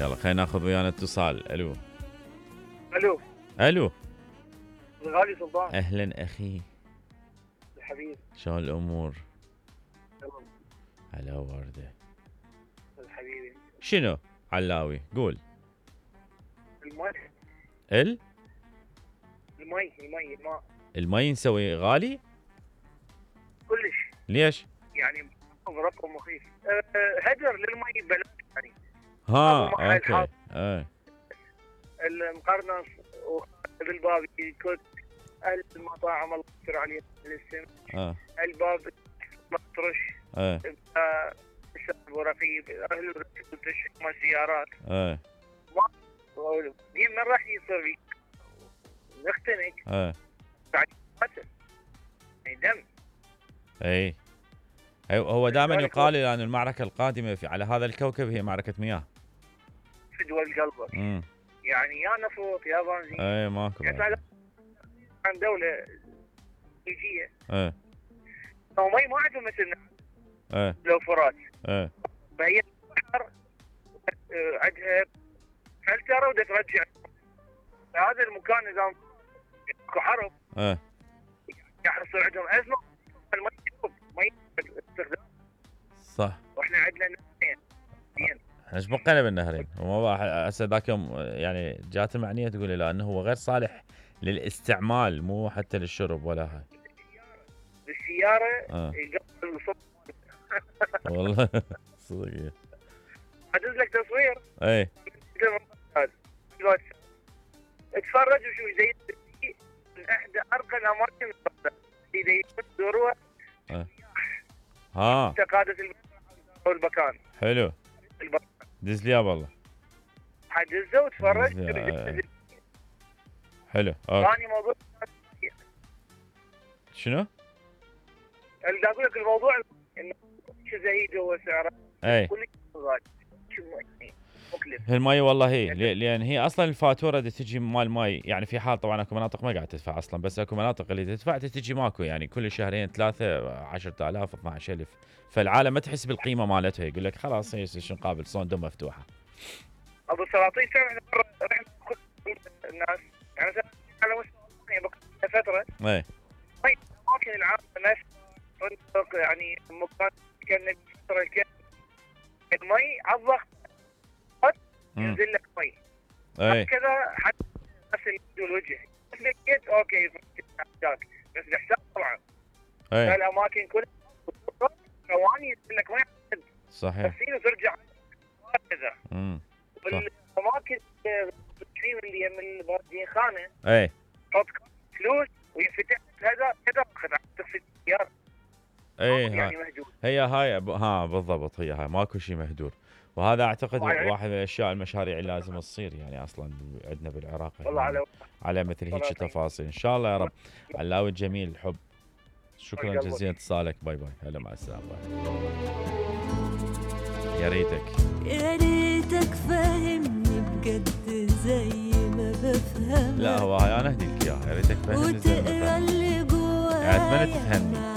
يلا خلينا ناخذ ويانا اتصال. الو الو الو الغالي سلطان. اهلا اخي الحبيب شلون الامور؟ تمام هلا ورده. الحبيب شنو علاوي قول. الماء المي نسوي غالي كلش ليش؟ يعني برقم مخيف. هدر للمي ببلاش يعني. اوكي المقرنص بالباب كنت اهل المطاعم الله يستر عليهم السن. الباب مطرش. الشعب ورقيب اهل التشحيم السيارات. من راح يصير نختنق بعد دم. اي هو دائما يقال ان المعركه القادمه على هذا الكوكب هي معركه مياه. فدوى قلبك. يعني يا نفط يا بنزين. اي ماكو يعني عن دوله خليجيه. لو مي ما عندهم مثلنا. لو فرات. فهي البحر عندها فلتره ودا ترجع. هذا المكان اذا اكو حرب. يحصل عندهم ازمه المي استخدام. صح. واحنا عندنا نهرين. احنا ايش بقينا بالنهرين؟ هسه ذاك يوم يعني جات المعنيه تقول لي لا انه هو غير صالح للاستعمال مو حتى للشرب ولا هاي. بالسياره يقبل الصوت. والله صدق. ادز لك تصوير. اي اتفرج وشوف زي من احدى ارقى الاماكن اذا يدوروها. تقادة المكان. حلو. دز لي والله. حدزه وتفرج. حلو. ثاني موضوع شنو؟ اللي اقول لك الموضوع انه شو زايد هو سعره. اي المي والله هي لان هي اصلا الفاتوره اللي تجي مال ماي يعني في حال طبعا اكو مناطق ما قاعد تدفع اصلا بس اكو مناطق اللي تدفع تجي ماكو يعني كل شهرين 3 10,000 12,000 فالعالم ما تحس بالقيمه مالتها يقول لك خلاص شو نقابل صندوق مفتوحه. ابو السلاطين احنا رحنا الناس يعني مثلا على مستوى فتره. اي اماكن العالم ناس يعني مكان كان المي على الضغط ينزل لك مي. كذا حتى نفس الوجه لقيت اوكي بس الحساب طبعا. الاماكن كلها ثواني ينزل لك مي. صحيح. بس ترجع كذا. والاماكن اللي من الباردين خانه. تحط فلوس وينفتح كذا تغسل السياره. يعني مهدور. هي هاي بالضبط هي هاي ماكو شيء مهدور وهذا اعتقد واحد من الاشياء المشاريع اللي لازم تصير يعني اصلا عندنا بالعراق على مثل هيك تفاصيل ان شاء الله يا رب. علاوي الجميل الحب شكرا جزيلا اتصالك. باي باي. هلا مع السلامه. يا ريتك فاهمني بجد زي ما بفهم. لا هو هاي انا اهدي لك اياها. يا ريتك فاهمني زي ما بفهم يعني اتمنى تفهمني.